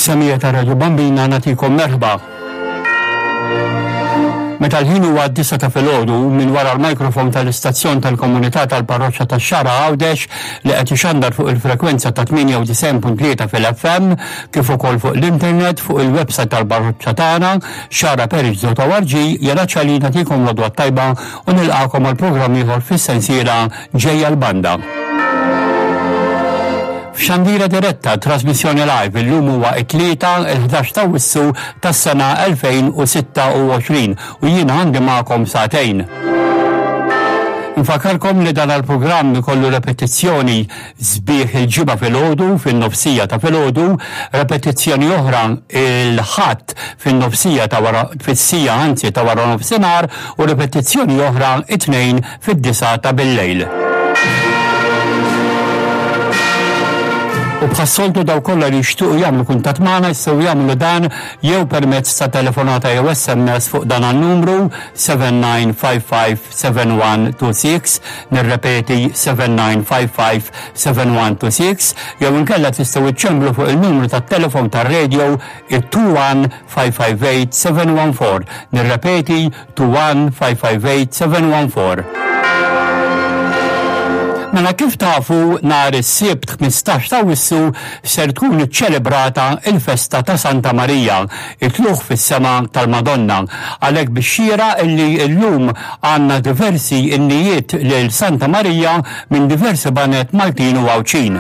Fis-semija ta' Radio Bambina nagħtikom merħba. Meta l-ħin huwa d-disa ta' filgħodu minn wara l-mikrofon tal-istazzjon tal-komunità tal-parroċċa tax-Xagħra Għawdex li qed ixandar fuq il-frekwenza ta' 98.3 fil-FM kif ukoll fuq l-internet fuq il-website tal-parroċċa tagħna xagħraparish.org jena ċali nagħtikom l-għodwa t-tajba u nilqagħkom għal programm ieħor fis-sensiela Ġejja l-Banda. F'xandira diretta, trasmissjoni live, illum huwa it-Tlieta, il-11 ta' Awwissu tas-sena 2026 u jiena għandi magħkom sagħtejn. Nfakkarkom li dan il-programm ikollu repetizzjoni sbieħ il-Ġimgħa filgħodu fin-nofsija ta' filgħodu, repetizzjoni oħra il-Ħadd fin-nofsija ta' wara fis-sija anzi ta' wara nofsinhar u repetizzjoni oħra it-Tnejn fid-disgħa ta' billejl. U bħas-soltu dawk kollha li jixtiequ jagħmlu kuntatt magħna jistgħu jagħmlu dan jew permezz ta' telefonata jew SMS fuq dan an-numru 79557126, nirrepeti 79557126, jew inkella tistgħu iċċemblu fuq il-numru tat-telefon tar-radio it-21558714, nirrepeti 21558714. Mela kif tafu nhar is-Sibt 15 ta' Awwissu ser tkun iċċelebrata l-festa ta' Santa Marija, it-tlugħ fis-sema tal-Madonna. Għalhekk bix-xieraq illi llum għandna diversi innijiet lil Santa Marija minn diversi baned Maltin u Għawdxin.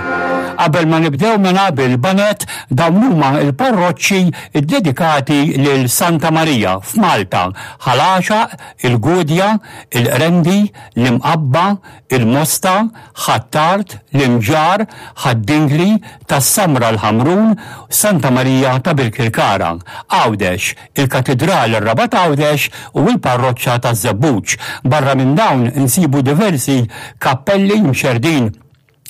Qabel ma nibdew mela bil-baned, dawn huma l-parroċċi ddedikati lil Santa Marija f'Malta, Ħal Għaxaq, il-Gudja, il-Qrendi, l-Imqabba, il-Mosta, Ħ'Attard, l-Imġarr, Ħad-Dingli, Tas-Samra l-Ħamrun, Santa Marija ta' Birkirkara, Għawdex, il-Katidral ir-Rabat Għawdex u l-Parroċċa taż-Żebbuġ. Barra minn dawn insibu diversi kappelli mxerrdin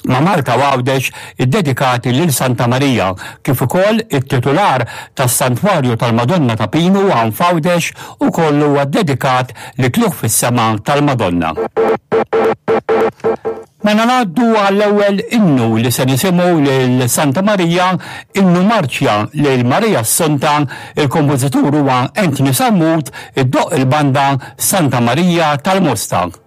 ma' Malta u Għawdex iddedikati lil Santa Marija, kif ukoll it-titular tas-Santwarju tal-Madonna ta' Pinu hawn f'Għawdex ukoll huwa ddedikat lit-Tlugħ fis-Sema tal-Madonna. Mela ngħaddu għall-ewwel innu li se nisimgħu lil Santa Marija, innu marċja lil Marija Assunta, il-kompożitur huwa Anthony Sammut, iddoqq il-banda Santa Marija tal-Mosta.